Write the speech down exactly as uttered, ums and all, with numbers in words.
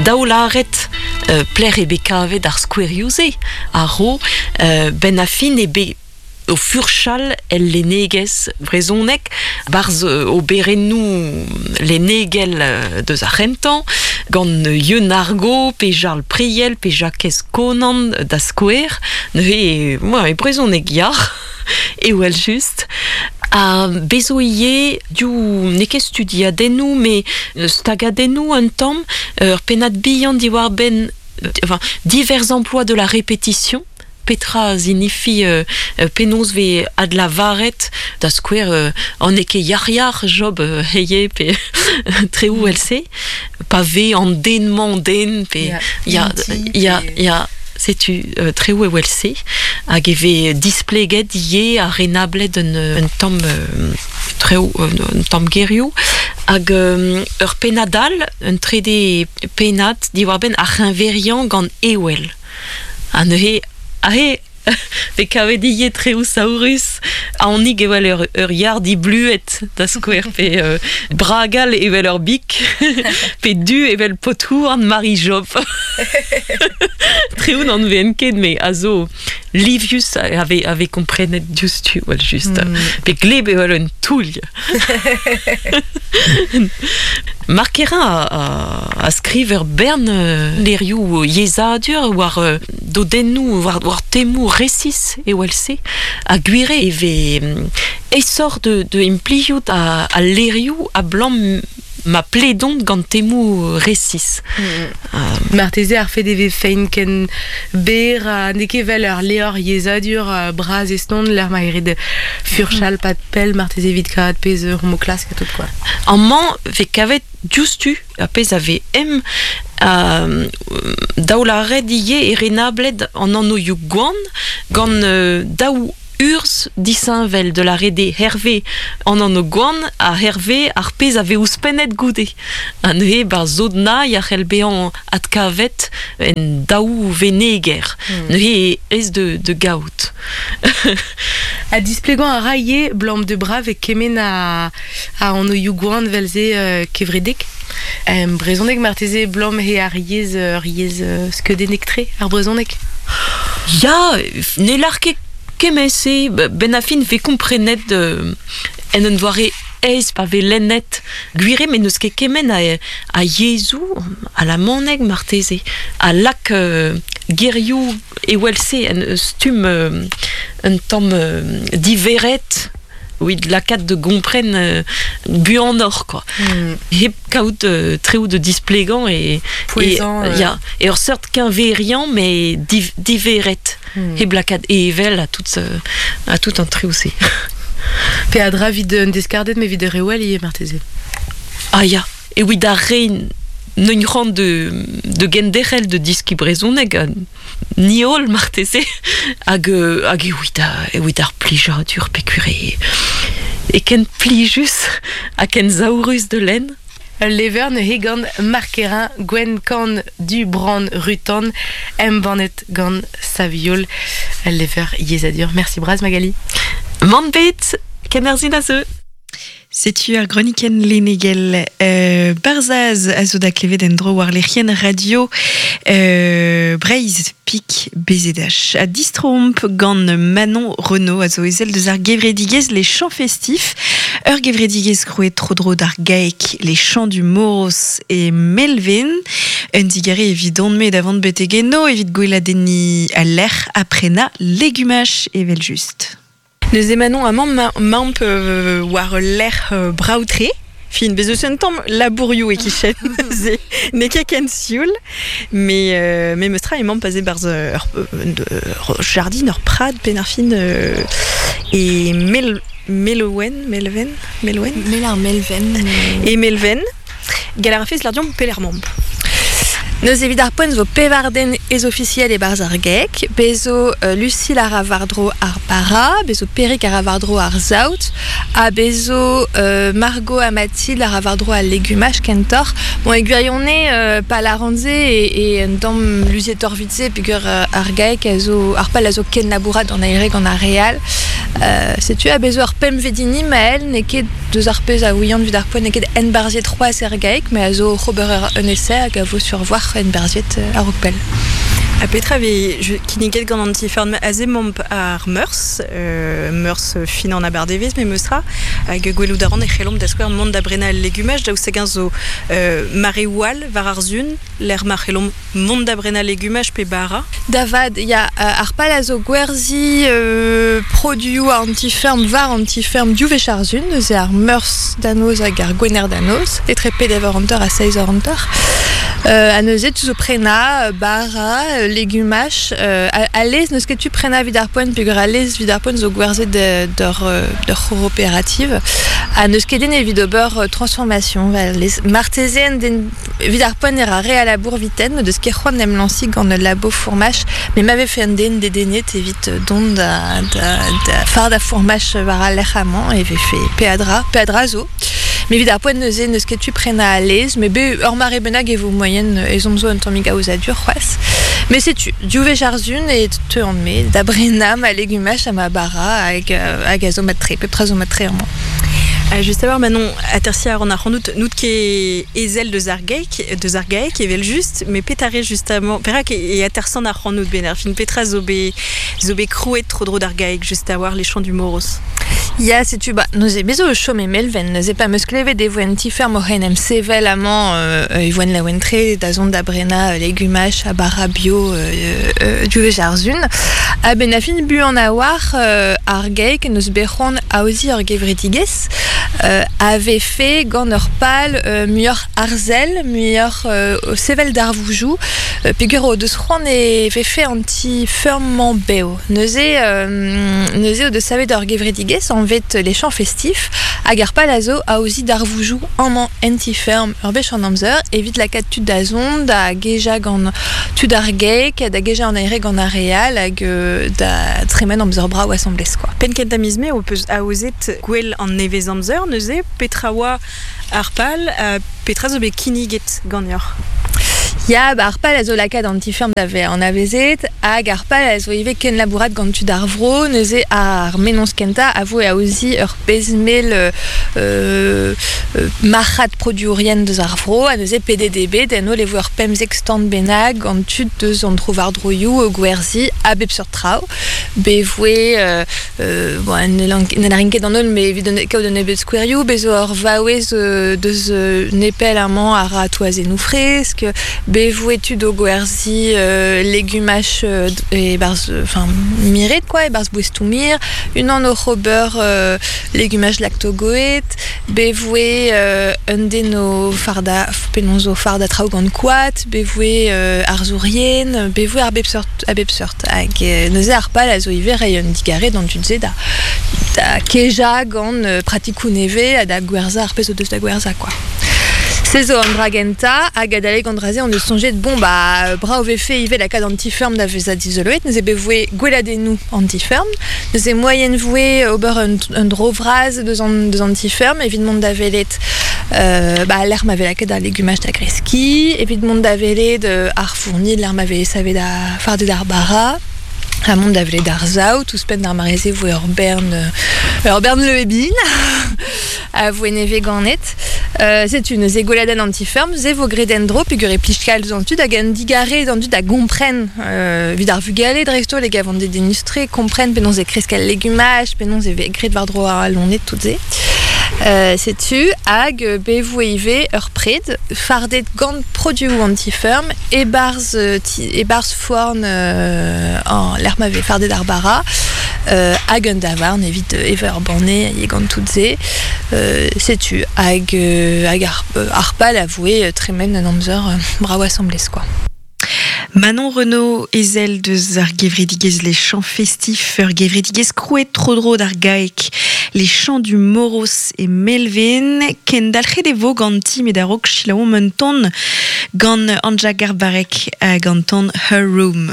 Daoularet euh, pler e bet kavet ar skouerioù-se a ro euh, ben a fin e bet o furchal el lennegezh brezhoneg barzh o berennoù lennegel deus ar c'hentañ gant Yeun Argo pe Jarl Priel pe Jakez Konan da skouer neuze moi e brezhoneg yar e wel just a bezo ivez div n'eo ket studiadennoù me stagadennoù un tamm ur pennad bihan diwar-benn enfin divers emplois de la répétition Petra signifie euh, penaos ve adlavaret da skouer euh, an eo ket yar-yar job euh, heye pe treoù else pa ve an den-mañ den pe ya ya ya setu euh, treoù e else hag e ve displeget ivez ar renablet un, un tamm euh, treoù un tamm gerioù hag euh, ur pennad all un trede pennad diwar-benn ar c'heñveriañ gant ewel ha neuze ahe ve kavet ivez treoù saourus aonik evel ur, ur yar dibluet da skouer pe euh, bragal evel ur bik pe du evel pothouarn Marie Job treoù n'an ven ket me a zo livius ave, ave komprenet diouzhtu wel just mm. Pe gleb evel un toull Markerin a, a, a skriver bern euh, lerioù yezadur war euh, dodennoù war, war temoù resis e else a gwire e ve esor de, de impliout a, a lerioù a blam ma pledont gant temoù resis. Mm. Euh, Marteze ar fet e ve fein ken ber a n'eo ket vel ur leor yezadur uh, braz eston l'er ma eret furchal mm. pat pell marteze evit kavat pezh ur mo klask a tout quoi. Amañ ve kavet diouzhtu a pezh a ve em euh, daoularet ivez e renablet an anv gwan gant euh, daou urz disheñvel de la rede Hervé an anv gwan a Hervé ar pezh a ve ouzhpennet goude. Ha neuze bar zodna ya c'hell bezañ adkavet en daou veneger. Mm. Neuze ez de, de gaout. A displegañ a ra ivez blam de brav e kemen a, a anv gwan velze euh, kevredek. Um, brezhoneg marteze blam he ar yezh ur yezh uh, skeudennek tre ar brezhoneg. Ya, ne lar ket kement-se ben a fin ve komprenet euh, en un doare aes pa ve lennet gwire met n'eus ket kement a, a yezhoù a la maneg marteze a lak euh, gerioù e welse en stumm euh, un tamm euh, diveret oui, lakaat de gompren euh, buanoc'h quoi. Mm. Hep kaout euh, treoù de displegañ e Pouezan, e, euh... ya, e ur seurt keñveriañ mais div, diveret. Mm. Hep lakaat evel a tout a tout an treoù-se. Pe a dra vid un deskardet me vid rewel ivez marteze. Ah ya, e oui da rein n'un c'hoant de, de genderc'hel de diski brezhoneg ni holl marteze hag, hag e oit e oit ar plijadur pe kure e ken plijus ha ken saourus de lenn. Ul lever neuze gant Markerin Gwenn Kan du Brand Rutan embannet gant Saviol ul lever yezadur. Merci braz Magali. Mann bet kenerzhin a zeu. Setu ar groniken lennegel euh, Barzaz a zo da klevet en dro war lec'hienn radio euh, Breizh Pik B Z H. A distromp gant Manon Renaud a zo ezel deus ar gevredigezh les chants festifs. Ur gevredigezh krouet tro-dro d'ar gaek les chants du Moros e Melvin. Un digare evit don-me davant betegeno evit gweladenni a lec'h aprena legumach evel just. Neuze Manon amañ ma, mamp euh, war lec'h euh, braoutre. Fin, bez eus un tamm labourioù e kichen. Ze n'eo ket ken sioul. Mais, euh, mais meustra emañ pase barzh ur, ur jardin, ur prad pen ar fin euh, e mel, Melowen, Melven, Melowen? Mel ar Melven. E Melven. Gall a rafez lardion pelec'h mamp. Neuze evit ar poent zo pevar den ez ofisiel e barzh ar gek, bezo euh, Lucille ar a war-dro ar bara, bezo Perik ar a war-dro ar saout, ha bezo euh, Margot ha Mathilde ar a war-dro al legumaj kentoc'h. Bon, e gwirionez euh, pal ar ranze e, e un tamm luziet orvitze peogwir euh, ar gaek a zo ar pal a zo ken labourat an aere gant ar real. Euh, setu a bezo ar pemp vedini Maël n'eo ket deus ar pezh a ouian vid ar poent n'eo ket enbarziet c'hoazh er gaek, mais a zo c'hober un essai hag a vo sur voir en berziet euh, a-raok pell. A petra ve kinniget gant an ti-ferm aze momp ar meurs, euh, meurs fin an abardevez, me meustra, hag gwelout a ran e c'hellomp da skouer mont da brena legumaj, daoust hag zo euh, mare oal war ar zun, l'er ma c'hellomp mont da brena legumaj pe bara. Davad, ya, euh, ar pal a zo gwerzi euh, produioù ar an ti-ferm war an ti-ferm div wech ar zun, neuze ar meurs danoz hag ar gwener danoz, etre peder hanter ha seizh eur hanter. Euh, a neuze tu zo prena, bara, legumaj, euh, a, a lez neus ket tu prena vid ar poent peogwir a lez vid ar poent zo gwerzhet d'ur d'ur coopérative a neus ket den evit ober transformation va lez marteze den vid ar poent era re a labour viten deus ket c'hoant em lansi gant ul labo fourmaj mais m'avait fait un den dedennet evit dont da, da, da far da fourmaj war al lec'h amañ e vefe peadra peadra zo. Mais evit ar poent neuze neus ket tu prena a lez, mais be ur mare bennak e vo moyen ezhomm zo un tammig aozadur c'hoazh. Mais setu, div wech ar zun e teu an me, da brena ma legumaj ha ma bara hag, hag a zo mat-tre, pep tra zo mat-tre amañ. Uh, just a-walc'h, Manon, atersi a ran ar c'hanout, nout ket ezel deus ar gaek, deus ar gaek evel just, mais petare justement, perak e, e atersan ar c'hanout ben ar fin petra zo be, zo be krouet tro-dro d'ar gaek, just a-walc'h les champs du Moros. Ya, setu, ba, neuze, me zo o chom e Melven, neuze pa meus klevet e voen ti-ferm oc'h en em sevel amañ euh, e voen laouen-tre da zont da brena legumaj ha bara bio euh, euh, div wech ar zun. A ben a fin buan a-walc'h euh, ar gaek neus bet c'hoant aoziñ ur gevredigezh euh, avait fait gant ur pal euh, muioc'h arzel, muioc'h euh, sevel darvoujoù, euh, peogwir o deus c'hoant e vefe an ti-ferm-mañ bev. Neuze, euh, neuze o deus savet ur gevredigezh anvet les champs festifs, hag ar pal a zo aoziñ darvoujoù amañ en ti-ferm ur wech an amzer, evit lakaat tud da zont, da gejañ gant tud ar gaek, da gejañ an aere gant ar re all, hag euh, da tremen amzer brav asambles, quoi. Penn kentañ miz mae ho peus aozet gwell an nevez amzer, neuze, petra oa ar pal, uh, petra zo bet kinniget ganeoc'h? Ya, ba, ar pal a zo lakaat an ti-ferm da vezañ anavezet, hag ar pal a zo ivez kenlabourat gant tud ar vro, neuze ar mennozh kentañ a voe aoziñ ur pezh mell euh, euh, marc'had produourien deus ar vro, ha neuze P D D B, d'en holl e voe ur pemzek stand bennak gant tud deus an tro-war-droioù o gwerzi a bep seurt traoù. Be voe, euh, euh, bon, ne larin ket an holl, mais evit kaout un nebeud skouerioù, bez zo ur vaouez euh, deus euh, nepell amañ a ra toazennoù fresk, be voe tud o gwerzi euh, legumaj euh, e barz, enfin, miret, quoi, e barz boestoù mir, unan oc'h ober euh, legumaj lactogoet, be voe euh, un den o farda, penaos o farda traoù gant koad, be voe euh, arzourien, be voe ar bep seurt, a bep seurt. Hag euh, neuze ar pal a zo ivez reiñ un digare d'an tud-se da, da kejañ gant euh, pratikoù nevez ha da gwerzañ ar pezh o deus da gwerzañ, quoi. Se zo an dra gentañ, hag adalek an dra-se on eus soñjet, bon, ba, brav vefe ivez lakaat an ti-ferm da vezañ dizoloet, neuze bet voe gweladennoù an ti-ferm, neuze moaien voe ober un, un dro vras deus an, deus an ti-ferm, evit mont da welet euh, ba, lec'h ma vez lakaet ar legumaj da greskiñ, evit mont da welet euh, ar fournil, lec'h ma vez savet da fardet ar bara, ha mont da welet ar saout, ouzhpenn d'ar mare-se voe ur bern, ur bern leuebin, a voe nevez ganet. Euh, setu neuze gweladenn an ti-ferm, se vo graet en-dro peogwir e plij kalz an tud hag an digare d'an tud da gompren euh, evit ar vugale dreist-holl e gav an dedennus-tre, kompren penaos e kresk al legumaj, penaos e vez graet war-dro ar loened tout se. Euh, setu hag be voe ivez ur pred fardet gant produoù an ti-ferm e-barzh e-barzh forn euh, an lec'h ma vez fardet ar bara, euh, hag un davarn evit evañ ur banne e gant tout se. Euh, setu hag, hag ar, ar pal a voe tremen un amzer brav asambles, quoi. Manon Renaud ezel deus ar gevredigezh les champs festifs, ur gevredigezh krouet tro-dro d'ar gaek, les champs du Moros e Melven, kendalc'het e vo ganti met a-raok selaouomp un ton gant Anja Garbarek hag an ton Her Room.